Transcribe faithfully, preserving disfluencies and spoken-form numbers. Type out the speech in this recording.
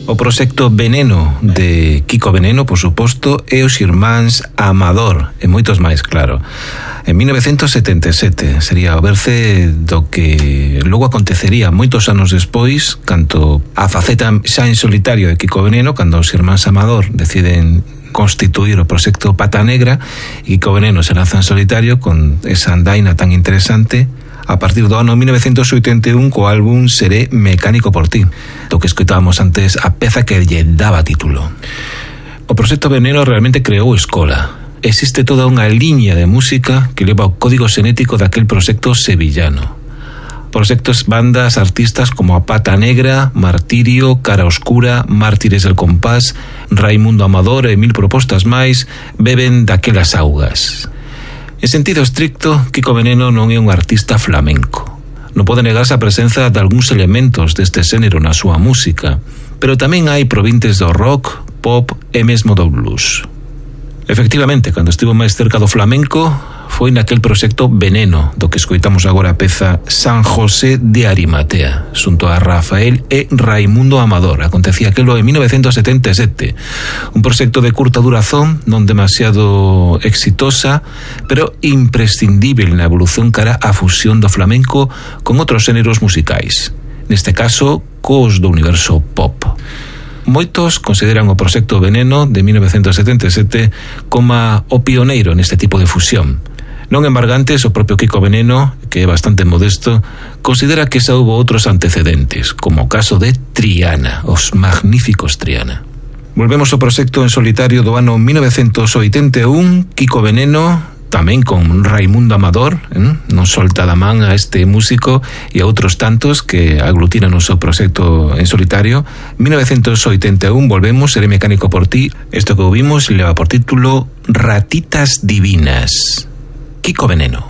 O proxecto Veneno de Kiko Veneno, por suposto, e os irmáns Amador, e moitos máis, claro. En mil novecentos setenta e sete sería o berce do que logo acontecería moitos anos despois, canto a faceta xa en solitario de Kiko Veneno, cando os irmáns Amador deciden constituir o proxecto Pata Negra, e Kiko Veneno se lanza en solitario con esa andaina tan interesante a partir do ano mil novecentos oitenta e un co álbum Seré mecánico por ti, do que escoitábamos antes a peza que lle daba título. O proxecto Veneno realmente creou escola. Existe toda unha liña de música que leva o código xenético daquel proxecto sevillano. Proxectos, bandas, artistas como a Pata Negra, Martirio, Cara Oscura, Mártires del Compás, Raimundo Amador e mil propostas máis beben daquelas augas. En sentido estricto, Kiko Veneno non é un artista flamenco. Non pode negarse a presenza de algúns elementos deste xénero na súa música, pero tamén hai provintes do rock, pop e mesmo do blues. Efectivamente, cando estivo máis cerca do flamenco, foi naquel proxecto Veneno, do que escoitamos agora a peza San José de Arimatea, xunto a Rafael e Raimundo Amador. Acontecía aquelo en mil novecentos setenta e sete. Un proxecto de curta durazón, non demasiado exitosa, pero imprescindible na evolución cara á fusión do flamenco con outros xéneros musicais. Neste caso, cos do universo pop. Moitos consideran o proxecto Veneno de mil novecentos setenta e sete como o pioneiro neste tipo de fusión. Non embargantes, o propio Kiko Veneno, que é bastante modesto, considera que xa houve outros antecedentes, como o caso de Triana, os magníficos Triana. Volvemos ao proxecto en solitario do ano mil novecentos oitenta e un, Kiko Veneno, tamén con Raimundo Amador, eh? non solta da man a este músico e a outros tantos que aglutinan o seu proxecto en solitario. mil novecentos oitenta e un, volvemos, Seré mecánico por ti. Isto que ouvimos leva por título Ratitas Divinas. Kiko Veneno.